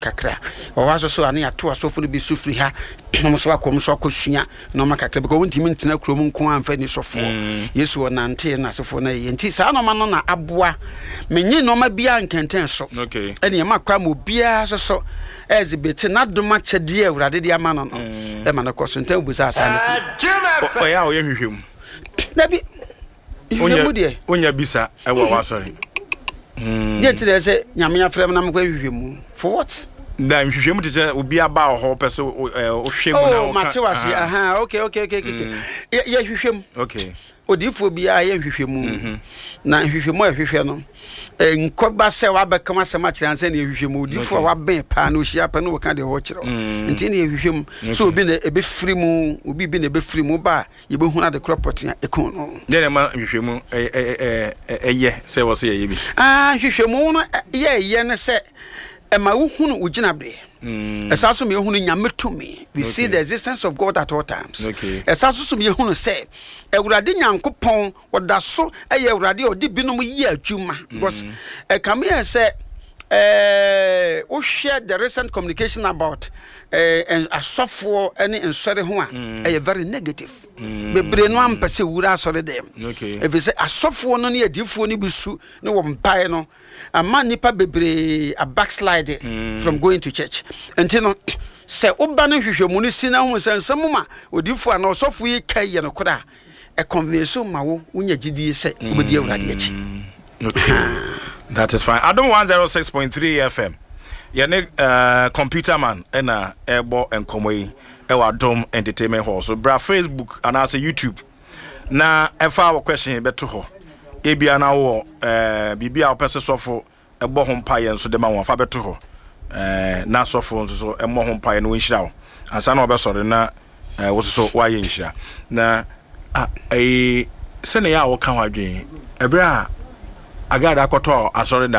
Kakra. Wɔ hɔ nso so a na yɛato asɔfo no bi so firi ha na wɔn nso akɔ wɔn nso akɔsua nneɛma kakra because wontumi ntena kurom nko ara mfa ni sɔfoɔ. Yesu ɔnantee na asɔfoɔ no ayɛ nti saa nneɛma no na aboa menye nneɛma biara nkɛntɛn so ɛne ɛma kwa ma obiara nso so ɛzibete n'adom akyɛdeɛ a Awurade de ama no no ɛma no kɔ so ntɛm bisa saa ne ti. Ɔyɛ a ɔyɛ nhwehwɛmu. Dabi. Nhwehwɛmu deɛ. Wonya bisa ɛwɔ w'asɔre. Deɛ nti na ɛsɛ Nyame afrɛ me na mekɔ nhwehwɛmu? For what? Na nhwehwɛmu te sɛ obi aba wɔ hɔ pɛ sɛ wohwɛ mu na woka. Oh, mate wase. Aha, okay, okay, okay, okay. Yɛ hwehwɛ mu. Okay. Odiyifoɔ biara yɛ nhwehwɛmu. Na nhwehwɛmu a ɛhwehwɛ no, nkɔba sɛ wabɛka asɛm akyerɛ ansa na yɛhwehwɛ mu. Odiyifoɔ a wabɛn paa na ohyia pɛ na wɔka deɛ ɔkyerɛ. Nti na yɛhwehwɛ mu. So obi na ɛbɛfiri mu, obi bi na ɛbɛfiri mu ba a, Yɛbɛhunu ade korɔ pɔtee a ɛkuu no. Dɛn na ɛma nhwehwɛmu yɛ sɛ ɛwɔ sɛ yɛyɛ bi? Nhwehwɛmu no yɛyɛ ne sɛ ɛma wohunu wo gyinaberɛ. Ɛsan so ma yɛhunu Nyame tumi. We see the existence of God at all times. Ɛsan so so ma yɛhunu sɛ Awurade Nyankopɔn ɔda so yɛ Awurade a ɔde binom yɛ adwuma. Because ɛkame yɛ sɛ wohwɛ the recent communication about asɔfoɔ ne nsɔre ho a, ɛyɛ very negative. Bebree no ampɛ sɛ wura asɔre dɛm. Ɛfiri sɛ asɔfoɔ no ne adiifoɔ no bi su ne wɔn mpae no ama nnipa bebree a backslide from going to church. Nti no, sɛ woba no nhwehwɛmu no si na hu sɛ nsɛm ma odiifoɔ anaa ɔsɔfo yi ka yɛ nokorɛ a, ɛconvince ma wo wonya gyidie sɛ wobɛdi Awurade akyi. Okay. That is fine. Adom 106.3 FM. Yɛne uh, computer man ɛna ɛbɔ nkɔmɔ yi ɛwɔ Adom Entertainment Hall. So bra Facebook anaasɛ YouTube na ɛfa wɔ question bɛto hɔ. Ebia na wɔ uh, biribi a wopɛ sɛ sɔfo bɔ ho mpaeɛ nso de ma wɔn, fa bɛto hɔ, ɛɛ, na asɔfoɔ nso so mmɔ ho mpaeɛ na wɔnhyira wo ansa na wɔbɛsɔre na ɛɛ, wo nso so woayɛ nhyira. Na a, ɛyi, sɛnea ɛyɛ a wɔka ho adwene, ɛberɛ a Agrada kɔtɔɔ asɔredan.